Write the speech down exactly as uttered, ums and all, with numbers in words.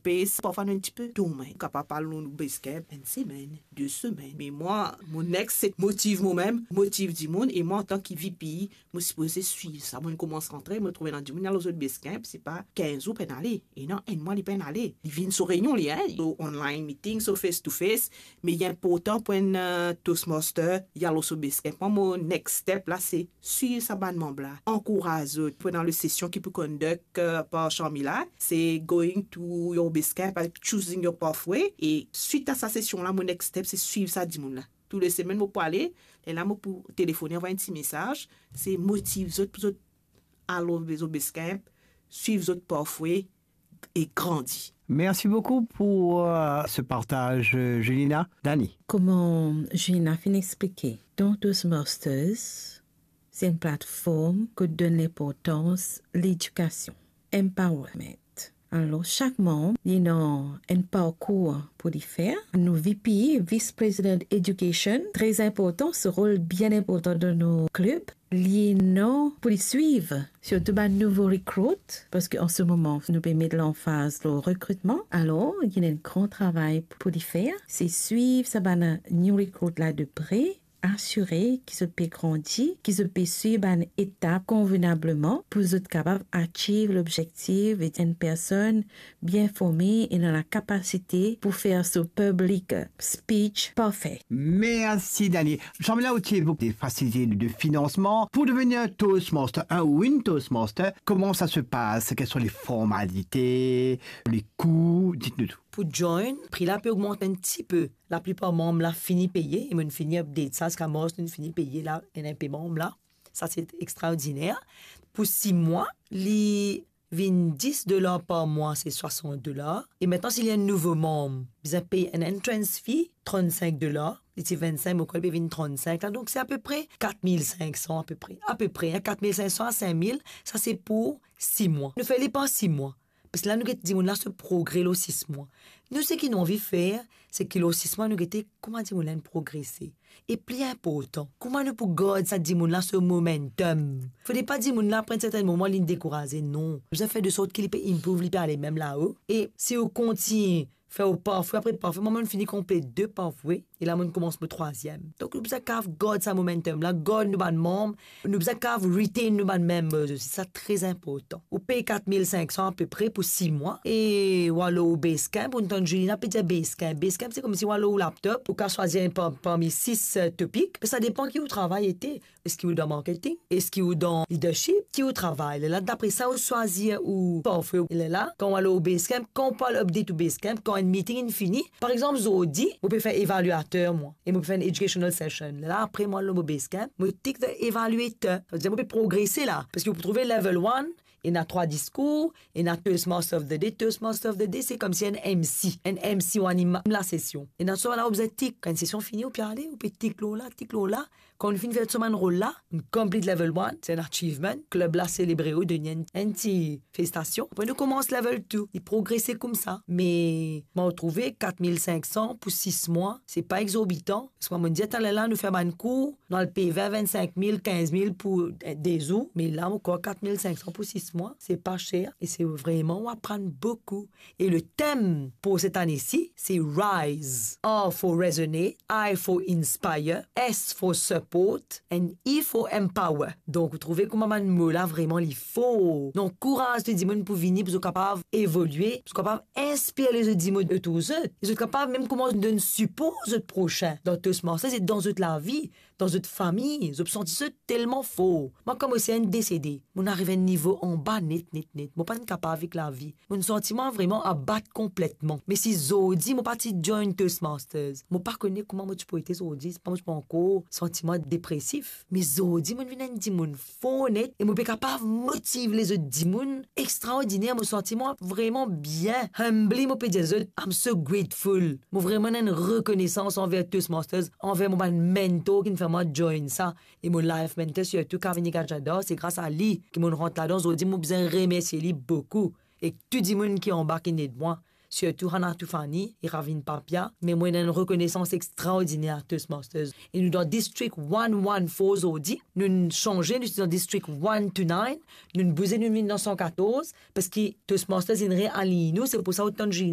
pace, parfwa nou enn tipe dorman. Kapav al lor nou Basecamp enn semenn, de semenn. Me mwa, mo next, se motiv momem, motiv dimoun, e mwa, antan ki VP, mo sipoze swiv sa. Mo'nn koumans rantre, mo trouve ena dimoun, li al lor zot Basecamp, se pa kinz zour pena ale. E non, enn mwa li pena ale. Li vinn so reynion li, en, so online meeting, so face to face, me li inportan pou enn, eh, Toastmaster, li al lor so Basecamp. Mwa, mo next step la, se swiv sa bann manb la, ankouraz zot. Pou ena le sesion ki pou conduct, eh, par Sharmila, se going to your Basecamp and choosing your pathway. E swit a sa sesion la, mo next step, se swiv sa dimoun la. Tou le semenn mo pou ale, lerla mo pou telefone, anvway enn ti mesaz, se motiv zot pou zot al lor zot Basecamp, swiv zot pathway e grandi. Merci beaucoup pour, euh, ce partage, euh, Julina. Dani. Kouma Julina finn explike, dan Toastmasters, se enn platform ki donn linportans ledikasion, empowerment. Alor, sak manb, li ena enn parkour pou li fer. Nou VP, Vice President Education, tre inportan, so rol bien inportan dan nou klub. Li ena pou li swiv, sirtou bann nouvo recruit, parski an se moman, nou pe met lanfaz lor rekritman. Alor, li ena enn gran travay pou li fer, se swiv sa bann new recruit la de pre, asire ki zot pe grandi, ki zot pe swiv bann etap konvenableman pou zot kapav achieve lobzektif, et enn personn bien forme e ena lakapasite pou fer so public speech parfe. Merci, Dani. Sharmila, ou ti evoke des facilités de, de financement. Pour devenir un Toastmaster, un ou une Toastmaster, comment ça se passe? Quelles sont les formalités, les coûts? Dites-nous tout. Pou join, pri la pe ogmant enn tipe. Laplipar manb la fini peye, e mo'nn fini update sa, ziska mars, nou'nn fini peye la, ena inpe manb la. Sa, se extraordiner. Pou sis mwa, li vinn dis dolar par mwa, se swasant dolar. E aster, si li enn nouvo manb, bizin pey enn entrance fee, trannsink dolar. Li ti vennsink, mo krwar li pe vinn trannsink la. Donk, se apepre kat mil sink san, apepre. Apepre, en, kat mil sink san a sink mil, sa se pou sis mwa. Nou fer li par sis mwa. Parski la, nou get dimoun la so progre lor sis mwa. Nou, seki nou anvi fer, se ki lor sis mwa, nou gete kouma dimoun la inn progrese. E pli inportan, kouma nou pou gard sa dimoun la so momentum. Fode pa dimoun la, apre enn sertenn moman, linn dekouraze, non. Nou bizin fer de sort ki li pe improve, li pe ale mem lao. E si ou kontign fer ou pathway apre pathway, mwa, mo'nn fini konplet de pathway, e la, mo'nn koumans mo trwaziem. Donk, nou bizin kav gard sa momentum la, gard nou bann manb, nou bizin kav retain nou bann members osi, sa tre inportan. Ou pey kat mil sink san apepre pou sis mwa, e ou al lor Basecamp, ou tann Julina pe dir Basecamp. Basecamp, se koumsi ou al lor ou laptop, ou kav swazir enn par-, parmi sis, eh, topik, me sa depan ki ou travay ete. Eski ou dan marketing? Eski ou dan leadership? Ki ou travay? Lerla, dapre sa, ou swazir ou pathway. Lerla, kan ou al lor Basecamp, kan ou pou al update ou Basecamp, kan enn meeting inn fini, par exanp, zordi, mo pe fer evaluater, mwa, e mo pe fer enn educational session. Lerla, apre, mo al lor mo Basecamp, mo tick the evaluator. Savedir mo pe progrese la, parski ou pou trouve level one, ena trwa diskour, ena Toastmaster of the Day. Toastmaster of the Day, se koumsi enn MC. Enn MC ou anim lasesion. Ena sa la, ou bizin tick. Kan enn sesion fini, ou pe ale, ou pe tick lor la, tick lor la. Kan ou finn fer tou sa bann rol la, ou complete level one, se enn achievement. Klub la selebre ou, donn li enn, enn ti felisitasion. Apre nou koumans level two, li progrese koumsa. Me mo trouve kat mil sink san pou sis mwa, se pa exorbitan. Parski mwa, mo'nn dir taler la, nou fer bann kour, nou al pey vin, vennsink mil, kinz mil pou, eh, de zour. Me la, mo krwar kat mil sink san pou sis mwa, se pa ser. E se vreman, ou aprann boukou. E le tem pou set ane si, se Rise, R for Resonate, I for Inspire, S for Support, and E for Empower. Donk, ou trouve kouma bann mo la vreman li for. Donk, kouraz tou dimoun pou vini, pou zot kapav evolie, pou zot kapav inspir lezot dimoun otour zot. E zot kapav mem koumans donn sipor zot prosin dan Toastmasters e dan zot lavi, dan zot fami, zot santi zot telman for. Mwa, kan mo ti enn desede, mo'nn ariv enn nivo anba net, net, net. Mo pa'nn kapav avek lavi. Mo'nn santi mwa vreman abat konpletman. Me si zordi mo pa ti join Toastmasters, mo pa kone kouma mo ti pou ete zordi, si pa mo ti pou ankor santi mwa depresif. Me zordi mo'nn vinn enn dimoun for net e mo pe kapav motiv lezot dimoun extraordiner. Mo santi mwa vreman bien, humbly, mo pe dir zot, I'm so grateful. Mo vreman ena enn rekonesans anver Toastmasters, anver mo bann mentor ki'nn fer mwa join sa, e mo life mentor sirtou, Kavini Gajadhar, se gras a li ki mo'nn rant ladan. Zordi mo bizin remersie li boukou. Ek tou dimoun ki anba ki'nn ed mwa, sirtou Hana Toufani e Ravin Papia, me mo ena enn rekonesans extraordiner a Toastmasters. E nou dan District one one four zordi, nou'nn sanze, nou ti dan District one to nine, nou'nn bouze, nou'nn vinn dan san katorz, parski Toastmasters inn realign nou, se pou sa ou tann Julina